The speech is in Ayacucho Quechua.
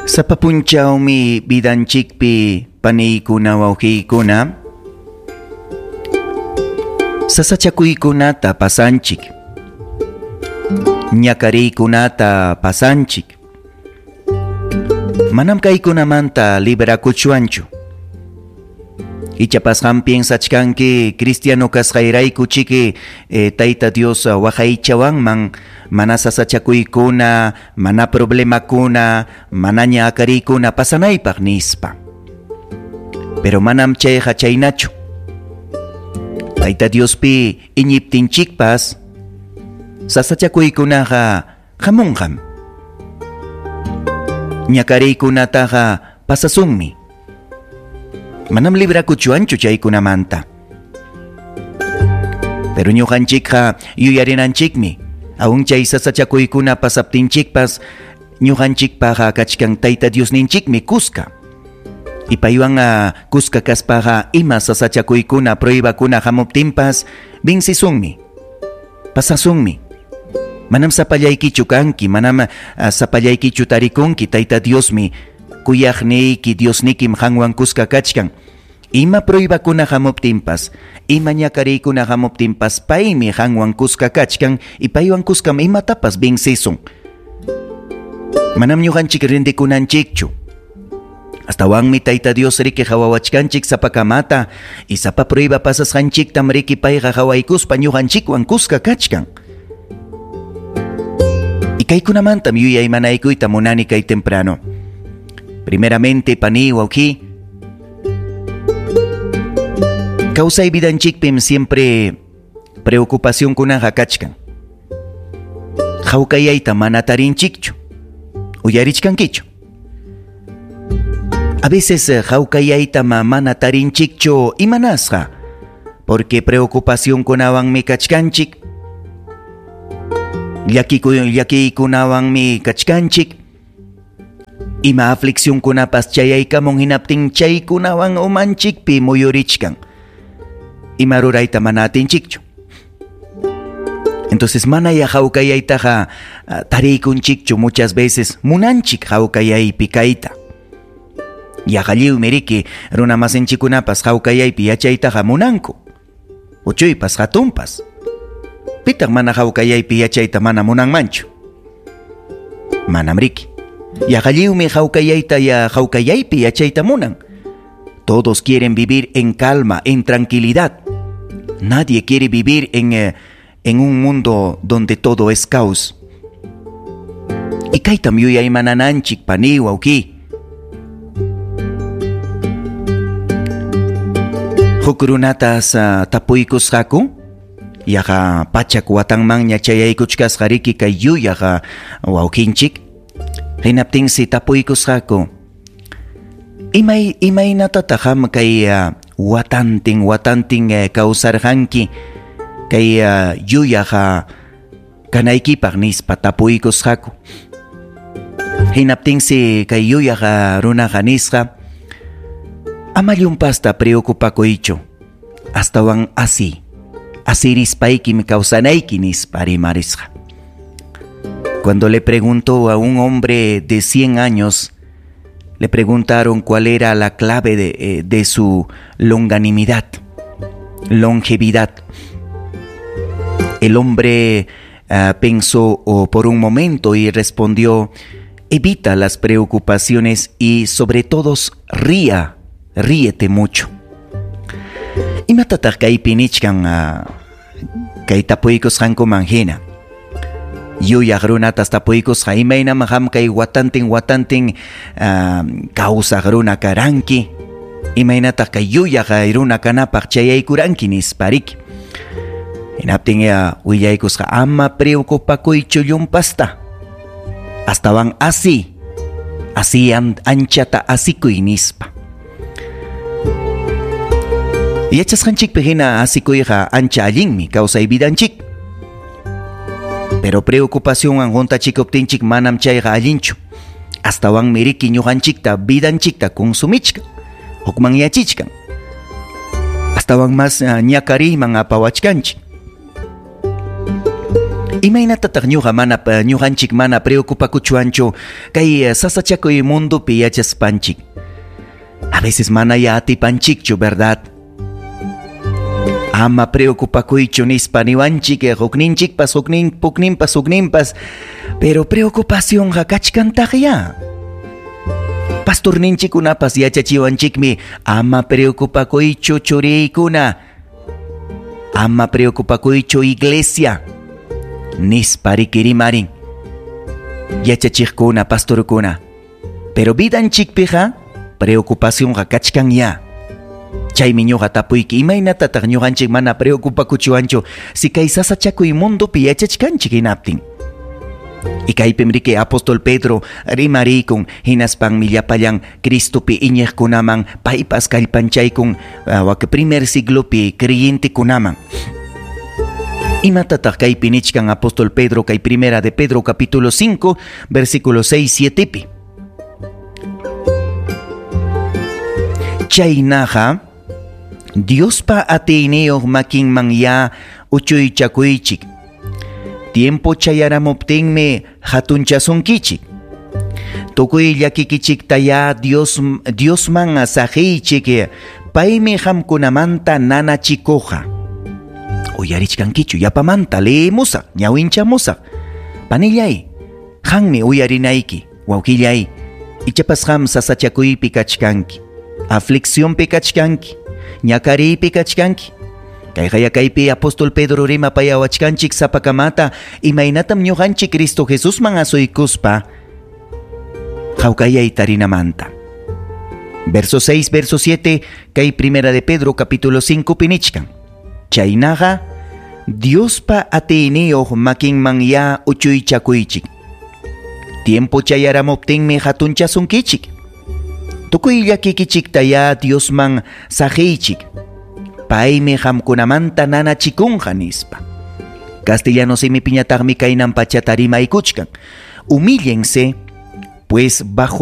Sapa punchawmi vidanchikpi paniykuna wawqiykuna sasachakuykunata pasanchik, ñakariykunata pasanchik. Manam kaykunamanta librakuchwanchu. Ichapas qam piensachkanki cristiano kasqayrayku chiki Tayta Dios waqaychawanman mana sasachakuykuna, mana problemakuna, manaña akariykuna pasanaypaq nispa. Pero manam chayqa chaynachu. Tayta Diospi iñiptinchikpas sasachakuykunaqa hamunqam. Ñakariykunataqa pasasunmi. Manam librakuchwanchu chaykunamanta. Pero ñuqanchikqa yuyarinanchikmi, aun chay sasachakuykuna pasaptinchikpas ñuqanchikpaqa kachkan Tayta Diosninchikmi kuska. Y paywan kuska kaspaqa ima sasachakuykuna pruebakuna hamuptinpas vencisunmi, pasasunmi. Manam sapallaykichu kanki, manam sapallaykichu tarikunki, Tayta Diosmi kuyaqniyki Diosnikim qanwan kuska kachkan. Ima pruebakuna hamuptinpas, ima ñakariykuna hamuptinpas paymi qanwan kuska kachkan y paywan kuskam imatapas vencisun. Manam ñuqanchik rindikunanchikchu. Astawanmi Tayta Dios riki qawawachkanchik sapakamata y sapa prueba pasasqanchiktam riki payqa qawaykuspa ñuqanchikwan kuska kachkan. Y kaykunamantam yuyaymanaykuyta munani kay temprano. Primeramente, pani wawqi, kawsay vidanchikpim siempre preocupacionkunaqa kachkan. Hawkayayta mana tarinchikchu. Uyarichkankichu. A veces hawkayayta mana tarinchikchu imanasqa, porque preocupacionkunawanmi kachkanchik, llakiykunawanmi kachkanchik, ima afliccionkunapas chayaykamun hinaptin chaykunawan umanchikpi muyurichkan, ima rurayta mana atinchikchu. Entonces mana ya hawkayaytaqa tariykunchikchu muchas veces munanchik hawkayaypi kayta. Yaqa lliwmi riki runa masinchikkunapas hawkayaypi yachaytaqa munanku. Uchuypas hatunpas. Pitaq mana hawkayaypi yachayta mana munanmanchu? Manam riki. Yaqa lliwmi hawkayayta ya hawkayaypi yachayta munan. Todos quieren vivir en calma, en tranquilidad. Nadie quiere vivir en un mundo donde todo es caos. Y kaytam yuyaymanananchik pani wawqi. Huk runatas tapuykusqaku, yaqa pachak watanmanña chayaykuchkasqa riki kay yuyaqa wawqinchik. Hinaptinsi tapuykusqaku, imaynatataq qam kay watantin watantin kawsarqanki kay yuyaqa kanaykipaq nispa tapuykusqaku. Hinaptinsi kay yuyaqa runaqa nisqa, ama llumpasta preocupakuychu, astawan asi, asirispaykim kawsanayki nispa rimarisqa. Cuando le preguntó a un hombre de 100 años, le preguntaron cuál era la clave de su longanimidad, longevidad. El hombre pensó por un momento y respondió: evita las preocupaciones y sobre todo ríete mucho. Imatataq kaypi nichkan kay tapuykusqankuman hina? Yuyaq runatas tapuykusqa, imaynam qam kay watantin watantin kawsaq runa karanki, imaynataq kay yuyaq runa kanapaq chayaykuranki nispa riki. Hinaptin willaykusqa, ama preocupakuychu llumpasta, astawan asi, asi anchata asikuy nispa. Yachasqanchikpi hina asikuyqa ancha allinmi kawsay vidanchik. Pero preocupacionwan huntachikuptinchik manam chayqa allinchu. Astawanmi riki ñuqanchikta vidanchikta consumichkan, hukmanyachichkan. Astawan mas ñakariyman apawachkanchik. Imaynatataq ñuqa mana ñuqanchik mana preocupakuchwanchu kay sasachakuy mundopi yachaspanchik? A veces mana ya atipanchikchu, ¿verdad? Ama preocupakuychu nispa niwanchik hukninchikpas huknin pukninpas hukninpas, pero preocupacionqa kachkantaqya. Pastorninchikkunapas yachachiwanchikmi ama preocupakuychu churiykuna, ama preocupakuychu iglesia nispa riki rimarin yachachiqkuna, pastorkuna. Pero vidanchikpiqa preocupacionqa kachkan ya. Chaymi ñuqa tapuyki, imaynatataq ñuqanchik mana preocupakuchwanchu si kay sasachakuy mundopi yachachkanchik hinaptin? Y kaypim riki apóstol Pedro rimarikun, hinaspanmi llapallan Cristopi iñiqkunaman paypas kallpanchaykun wak primer siglopi creyentekunaman. Imatataq kaypi nichkan apóstol Pedro kay primera de Pedro capítulo 5 versículo 6 7 pi? Chaynaqa Diospa atiyniyuq makinman ya uchuychakuychik. Tiempo chayaramuptinmi hatunchasunkichik. Tukuy llakikichikta ya Diosman saqiychik, paymi qamkunamanta nanachikuqa. Uyarichkankichu, yapamanta leemusaq, ñawinchamusaq. Panillay, qanmi uyarinayki, wawqillay, ichapas qam sasachakuypi kachkanki, afliccionpi kachkanki, ñakariypi kachkanki. Kayqa kaypi apóstol Pedro rimapayawachkanchik sapakamata, imaynatam ñuqanchik Cristo Jesusman asuykuspa hawkayay tarinamanta. Verso 6, verso 7, kay primera de Pedro capítulo 5 pinichkan. Chaynaqa Diospa atiyniyuq makinman ya uchuychakuychik. Tiempo chayaramuptinmi hatunchasunkichik. Tukuy llakikichikta ya Diosman saqiychik. Paymi qamkunamanta nanachikunqa nispa. Castellano simipiñataqmi kaynan pachata rimaykuchkan. Humíllense, pues bajo